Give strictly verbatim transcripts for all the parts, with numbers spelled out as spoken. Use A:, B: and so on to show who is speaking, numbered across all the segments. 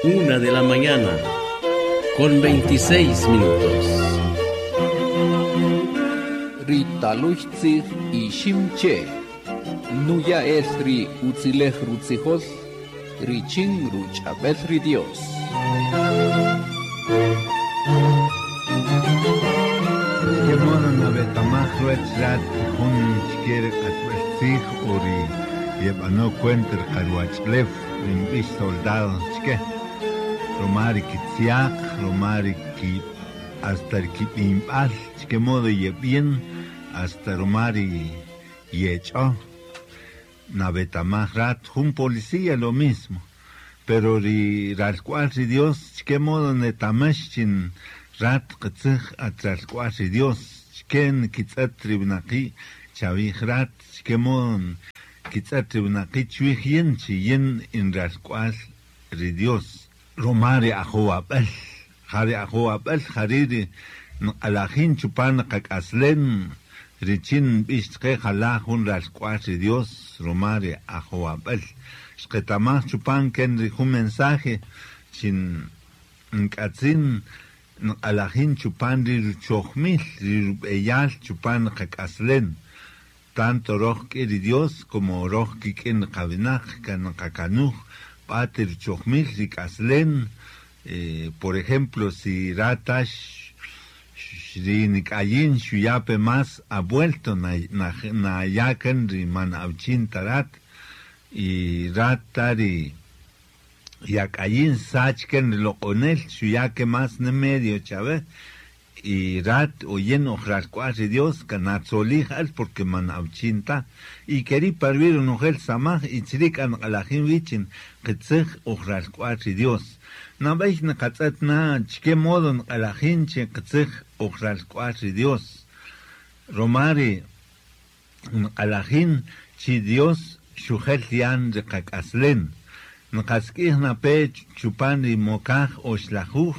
A: Una de la mañana con veintiséis minutos.
B: Ritaluchtzij iximche nuya el ri utzilej rutzijol richin ruchabel ri Dios.
C: Qué mono nabetamaj ruech rat jun chikere qatb'el ori yeb'ano cuenta qarwachlef rinb'ix soldado chike romari kitziaq romari ki hasta kib'imb'al chike modo yeb'ien hasta romari yecho nabetamaj rat jun policía lo mismo pero ri ralcual ri Dios chike modo netamesh chin rat qtzij atralcual ri Dios chike kitz'et ribnaqi chavij rat chike modo kitz'et ribnaqi chwij yin chi yin in ralcual ri Dios romari ajowab'el jari ajowab'el jariri nq'alajin chupan qak'aslen richin b'ix chqe jala jun ralcual ri Dios romari ajowab'el xqetamaj chupan ken ri jun mensaje chin nk'atzin nq'alajin chupan ri ruchojmil ri rub'eyal chupan qak'aslen tanto roj k'i ri Dios como roj kik'in qawinaq kan qakanuj b'ate ruchojmil ri k'aslen. Eh, por ejemplo, si ratash ri nikayin xuyape más abuelto na na na yaken ri man awchin tarat y ratari yakayin sachken loqonel xuyake más ne medio chave y rat oyen ojralcual ri Dios kanatzolij al porque man awchinta y querí parvir unujel samaj y chrik an qalajin wichin qitzij ojralcual ri Dios nab'ej nqatz'et na chike modo nqalajin chi qitzij ojralcual ri Dios romari nqalajin chi Dios xujel yan ri qak'aslen nqask'ij nape chupan ri mokaj oxlajuj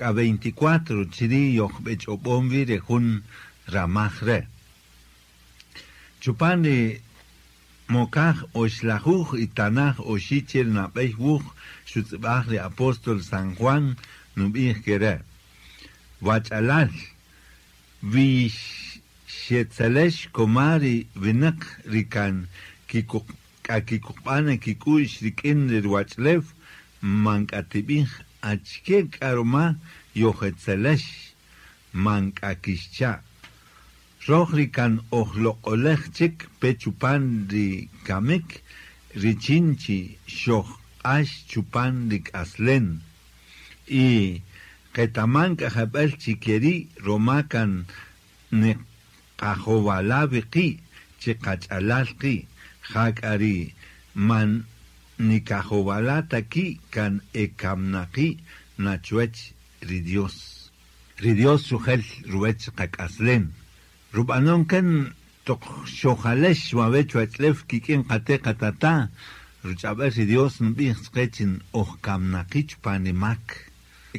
C: k'a veinticuatro chiri yojb'ech'ob'on wi ri jun ramaj re chupan ri mokaj oxlajuj y tanaj oxichel nab'ej wuj xutz'ib'aj ri apóstol San Juan nub'ij kere wach'alal wi xetzelex komari winaq ri kan k'akikuqb'ana kik'u'x rik'in ri ruwach'lew man k'atib'ij achike k'aruma yojetzelex man k'akixcha' roj ri kan ojloq'olej chik pe chupan ri kamik richin chi xojq'ax chupan ri k'aslen y qetaman k'ajab'el chi keri' roma kan niqajowala wiqi' chi qach'alal qi' jak'ari man nikajowala taki kan ekamnaqi nachuech ri Dios ri Dios xujel ruwech qak'aslen rub'anon kan toq xojalex wawech wach'lef kik'in qate qatata ruch'ab'el ri Dios nb'ij chqe chin ojkamnaqi chupan ri mak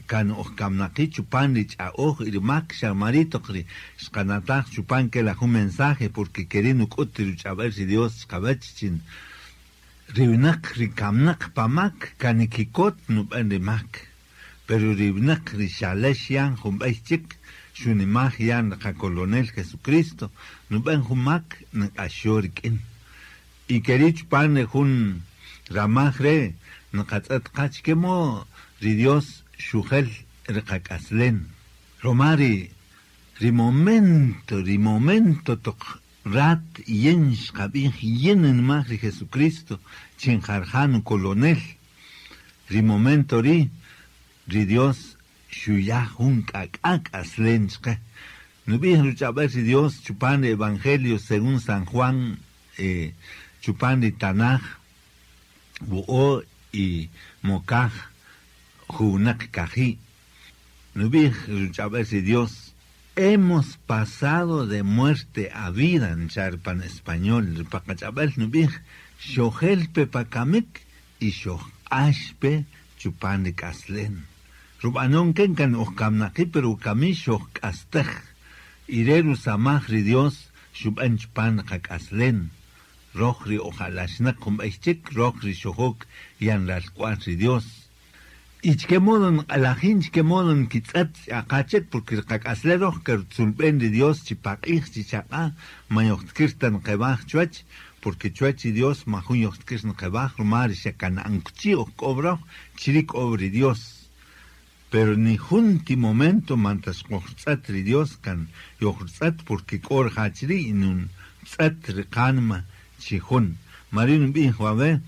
C: kan ojkamnaqi chupan ri ch'a'oj y ri mak xamari toq ri xqanataj chupan ke la jun mensaje porque keri nuk'ut ri ruch'ab'el ri Dios chqawach chin ri winaq ri kamnaq pamak kanikikot nub'an ri mak pero ri winaq ri xalex yan jun b'ey chik xunimaj yan qakolonel Jesucristo nub'an jun mak nq'axo rik'in y keri chupan ri jun ramaj re nqatz'et qach kemo ri Dios xujel ri qak'aslen romari ri momento ri momento toq rat yen xqab'ij yen nmaj ri Jesucristo chin jarjan kolonel ri momento ri ri Dios xuya jun k'ak'a k'aslen chqe nub'ij ruch'ab'el ri Dios chupan ri Evangelio según San Juan eh, chupan ri Tanaj wo'o y mokaj junaq kaji nub'ij ruch'ab'el ri Dios hemos pasado de muerte a vida nchar pan español paqach'ab'el nub'ij xojel pe pakamik y xojq'ax pe chupan ri k'aslen rub'anon ken kan ojkamnaqi pero kami xojk'astej ire rusamaj ri Dios xub'an chupan qak'aslen roj ri ojalaxnaq jun b'ey chik roj ri xojok yan ralk'wal ri Dios Y chke modo nq'alajin chke modo nkitz'et aqachek porque riqak'aslej roj kertzulb'en ri Dios chipaq'ij chichaq'a man yojtkir ta nqeb'aj chuwach porque chuwach ri Dios majun yojtkir nqeb'aj ruma ri xakana'ankuchi oj k'ob roj chiri k'ob ri Dios. Pero ni jun ti momento mantas qojtz'et ri Dios kan yojtz'et porque k'o rija' chiri y nun tz'et ri qanma chi jun. Mari nb'ij wawe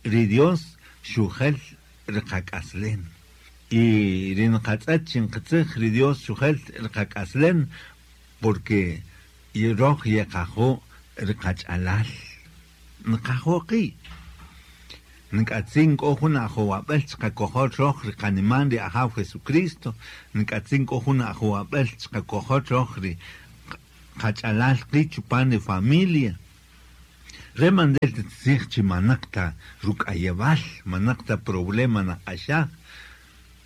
C: ri Dios xujel riqak'aslen. Y ri nqatz'et chinqitzij ri Dios xujel riqak'aslen porque roj yeqajo riqach'alal. Nqajo qi'. Nk'atzin k'o jun ajowab'el chiqakojol roj riqaniman ri Ajaw Jesucristo. Nk'atzin k'o jun ajowab'el chiqakojol roj ri qach'alal qi' chupan ri familia. Re mandel tzij chi manaqta ruk'ayewal, manaqta problema naq'axaj,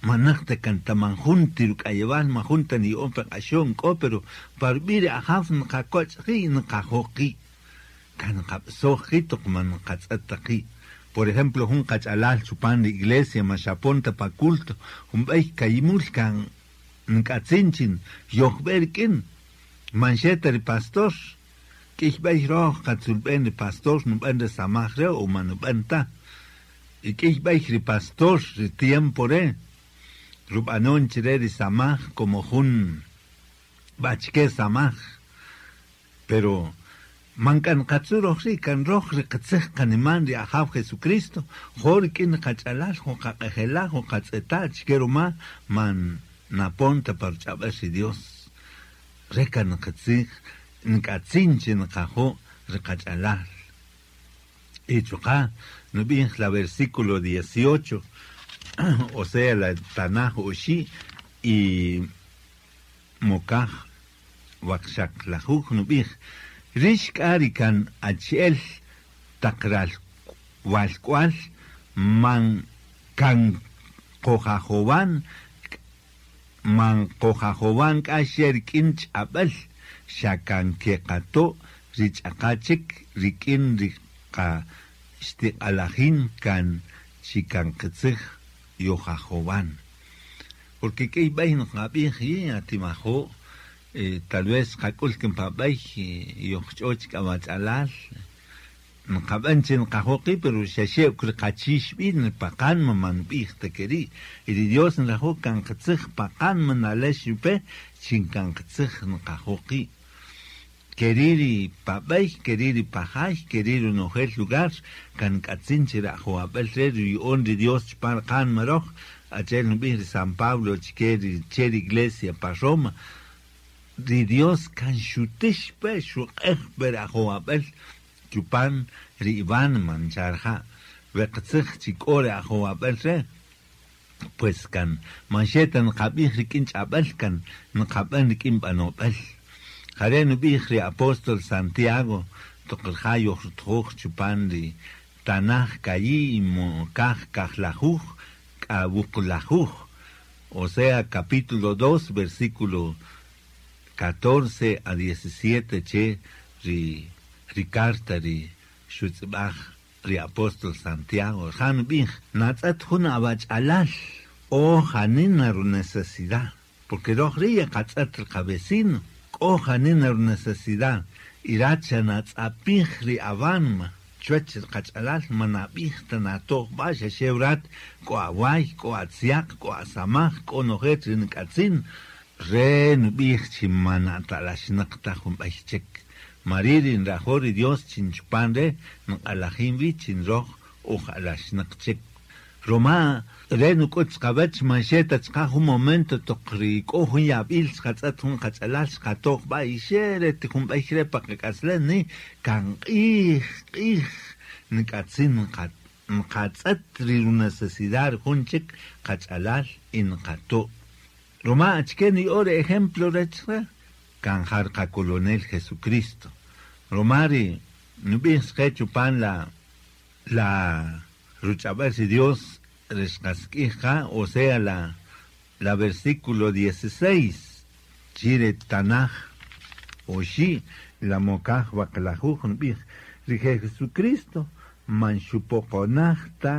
C: manaqta kantamanjunti ruk'ayewal, majunta niya'on pe q'axon k'o, pero parb'i ri Ajaw nqakoch' qi' nqajo qi', kan nqab'soj qi' toq man nqatz'et ta qi'. Por ejemplo, jun qach'alal chupan ri iglesia maxapon ta pa culto, jun b'ey kayimul kan nk'atzin chin yojb'e rik'in, man xe ta ri pastor. K'ix b'ey roj qatzulb'en ri pastor nub'en ri samaj re o man nub'en ta. Y k'ix b'ey ri pastor ri tiempo re rub'anon chire ri samaj como jun b'achke samaj. Pero man kan qatzu roj ri kan roj ri qatzij qaniman ri Ajaw Jesucristo, jo rik'in qach'alal, jo qaq'ejela', jo qatz'eta' chike ruma man napon ta par ch'ab'el ri Dios. Re kan qatzij nk'atzin chi nqajo ri qach'alal. Y chuqa' nub'ij la versículo dieciocho, o sea la Tanaj oxi' y mokaj waqxaqlajuj nub'ij rix k'a ri kan achi'el taq ral walk'wal man kan qojajowan man qojajowan k'a xe rik'in ch'ab'el xa kan keqato' ri ch'aqa chik rik'in ri qa xtiq'alajin kan chi kan qitzij yojajowan. Porque k'ey b'ey nqab'ij yi atimajo' eh, tal vez qak'ul kinpa b'ey yojch'o chik awach'alal nqab'an chi nqajo qi' pero xa xe riqachix b'i' paqan man b'ij ta keri'. Y ri Dios nrajo' kan qitzij paqan nalex yupe chin kan qitzij nqajo qi'. Keriri pab'ey, keriri pajay, keriri nojel lugar, kan k'atzin chi rajowab'el re ruya'on ri Dios chupan qan maroj, achi'el nub'ij ri San Pablo chike ri che ri iglesia pa Roma. Ri Dios kan xutix pe xuq'ej pe rajowab'el chupan ri Iván mancharja. We qitzij chi k'o ri ajowab'el re, pues kan man xe ta nqab'ij rik'in ch'ab'el kan nqab'en rik'in b'anob'el. Jare nub'ij ri apóstol Santiago toq rija' yojrutjoj chupan ri Tanaj kayi' mokaj kajlajuj k'a wuqlajuj, o sea capítulo dos versículo catorce a diecisiete che ri ri carta ri xutz'ib'aj ri apóstol Santiago. Ja nub'ij natz'et jun awach'alal o janina ru necesidad, porque roj ri qatz'et ri qavecino k'o janina ru necesidad y racha natz'apij ri awanma chuwach ri qach'alal manab'ij ta natoj b'a xa xe rat k'o away k'o atziaq k'o asamaj k'o nojel ri nk'atzin re nub'ij chi manata'laxnaq ta jun b'ey chik. Mariri nrajo' ri Dios chin chupan re nq'alajin wi chin roj uj'alaxnaq chik. Roma re nuk'ut chiqawach man xe ta chiqa jun momento toq ri k'o jun yab'il chiqatz'et jun qach'alal chiqatoj b'a y xe re ti jun b'ey re pa qak'aslem ni kan q'ij q'ij nk'atzin nqatz'et ri necesidad jun chik qach'alal y nqato'. Roma achike niya'o ri ejemplo rech re kan jar qacolonel Jesucristo. Roma ri nub'ij chiqe chupan la la ruch'ab'el ri Dios rixqask'ij qa, o sea la la versículo dieciséis chire Tanaj oxi' la mokaj waqlajuj nub'ij ri Jesucristo man xupoqonaj ta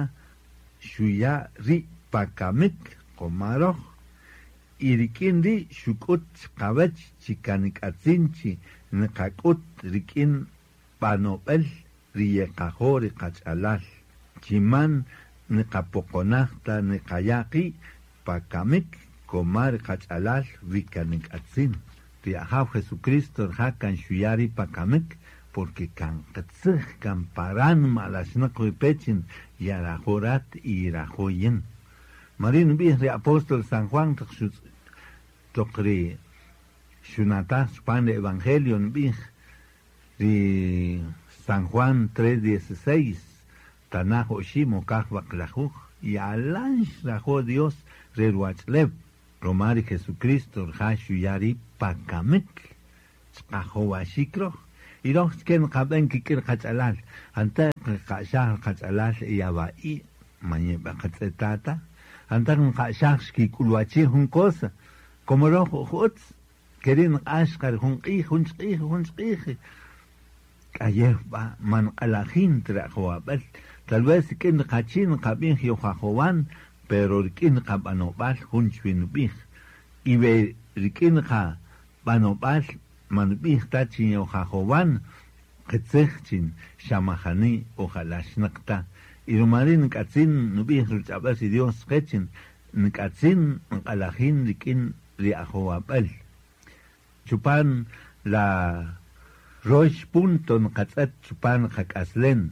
C: xuya' ri' pa kamik qomaroj y rik'in ri' xuk'ut chiqawach chi kanik'atzin chi niqak'ut rik'in b'anob'el ri yeqajoo ri qach'alal chiman niqapoqonaj ta niqaya' qi' pa kamik koma ri qach'alal wi kanik'atzin ri Ajaw Jesucristo rija' kan xuya' ri' pa kamik porque kan qitzij kan paran ma'alaxnaq wipechin yarajo' rat y yirajo' yin. Mari nub'ij ri apóstol San Juan toq toq ri xunataj chupan ri Evangelio nub'ij ri San Juan tres dieciséis tanaj oxi' mokaj waqlajuj yalan xrajo' Dios re ruwach'lew roma ri Jesucristo rija' xuya' ri' pa kamik chiqajowaxik roj y roj chike nqab'an kik'in qach'alal anta qaq'axaj qach'alal yawa'i mañeb'a qatz'etata anta nqa'xaj xkik'ulwachi jun cosa como roj utz keri nq'ax qar jun q'ij jun chq'ij jun chq'ij k'ayew b'a man q'alajin trajowab'al tal vez rik'in qachi nqab'ij yojajowan pero rik'in qab'anob'al jun chwinub'ij y we rik'in qab'anob'al man b'ij ta chin yojajowan qitzij chin xamajani ojalaxnaq ta y romari nk'atzin nub'ij ruch'ab'al ri Dios qechin nk'atzin nq'alajin rik'in ri ajowab'al chupan la rox punto nqatz'et chupan qak'aslen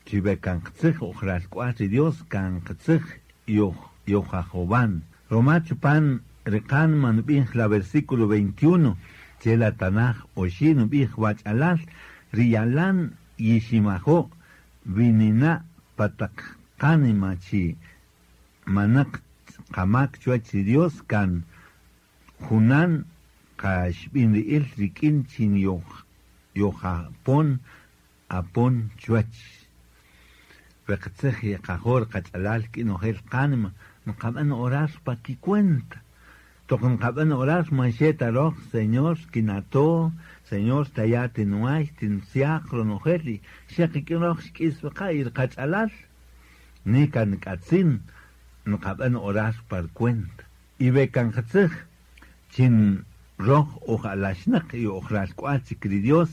C: chiwe kan qitzij ojralk'wal ri Dios kan qitzij yoj yojajowan roma chupan riqan manub'ij la versículo veintiuno chela tanaj oxi nub'ij wach'alal riyalan yiximajo' winina pataq qanima chi manaq qamak chuwach ri Dios kan junan qaxb'in ri'il rik'in chin yoj yojapon apon chuwach we qitzij yeqajor qach'alal k'inojel qanima nqab'an orar pa kicuenta toq nqab'an orar man xeta roj Señor kinato Señor taya tinuay tinsiaq ronojel y xeqik'in roj xk'is weqa y qach'alal ni kan k'atzin nqab'an orar par cuenta y we kan qitzij chin roj ojalaxnaq y ojralk'wal chik ri Dios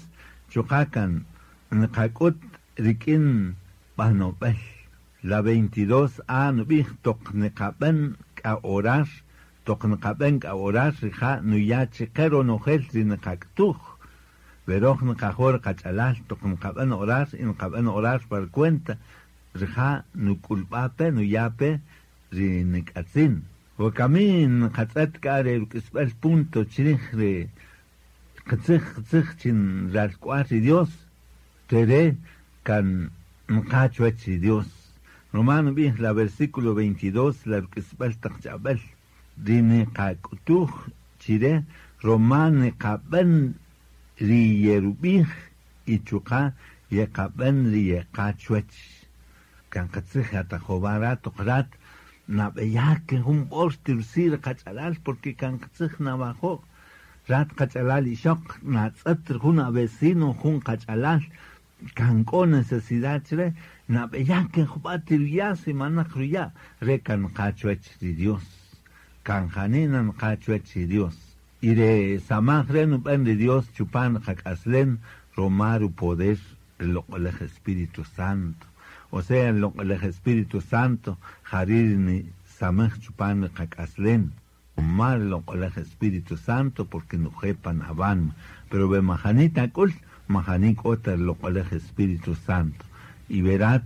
C: chuqa kan nqak'ut rik'in b'anob'al la veintidós a nub'ij toq nqab'an k'a orar toq nqab'an k'a orar rija' nuya' chiqe ronojel ri nqak'tuj we roj nqajor qach'alal toq nqab'an orar y nqab'an orar par cuenta rija' nuk'ulb'ape nuya'pe ri nik'atzin wakami nqatz'et k'a re ruk'isb'al punto chrij ri qitzij qitzij chin ralk'wal ri Dios tere kan nqa chuwach ri Dios roma nub'ij la versículo veintidós la ruk'isb'al taq ch'ab'al ri niqak'utuj chire roma niqab'an ri yerub'ij y chuqa yeqab'an ri yeqa chuwach kan qitzij atajob'an rat toq rat nab'eyake jun b'or tirsir qach'alal porque kan qitzij nawajo' rat qach'alal ixoq natz'et jun avecino jun qach'alal kan k'o necesidad chre nab'eyake jub'a tiruya' si manaq ruya' re kan qa chuwach ri Dios kan janina nqa chuwach ri Dios y re samaj re nub'an ri Dios chupan qak'aslen roma rupoder el loq'olej Espíritu Santo o sea el loq'olej Espíritu Santo jarir ni samaj chupan qak'aslen roma el loq'olej Espíritu Santo porque nujepan aban pero ve majanita k'ul majani k'ota el loq'olej Espíritu Santo y verat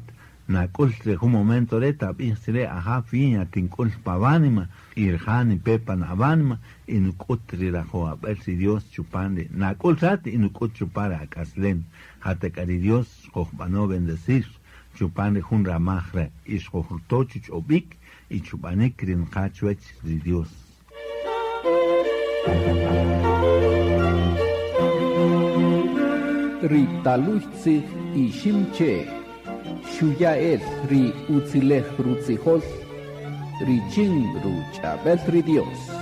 C: nak'ul re jun momento re tab'ij chire aja fiña tink'ul pawanima y rjani pepan awanima y nuk'ut ri rajowab'al ri Dios chupan ri nak'ul rat y nuk'ut chupan ri ak'aslen jatek'a ri Dios xojb'ano bendecir chupan ri jun ramaj re y xojruto chuch'ob'ik y chub'anik ri nqa chuwach ri Dios.
B: Ri taluy tzij iximche xuya' el ri utzilej rutzijol richin ruch'ab'el ri Dios.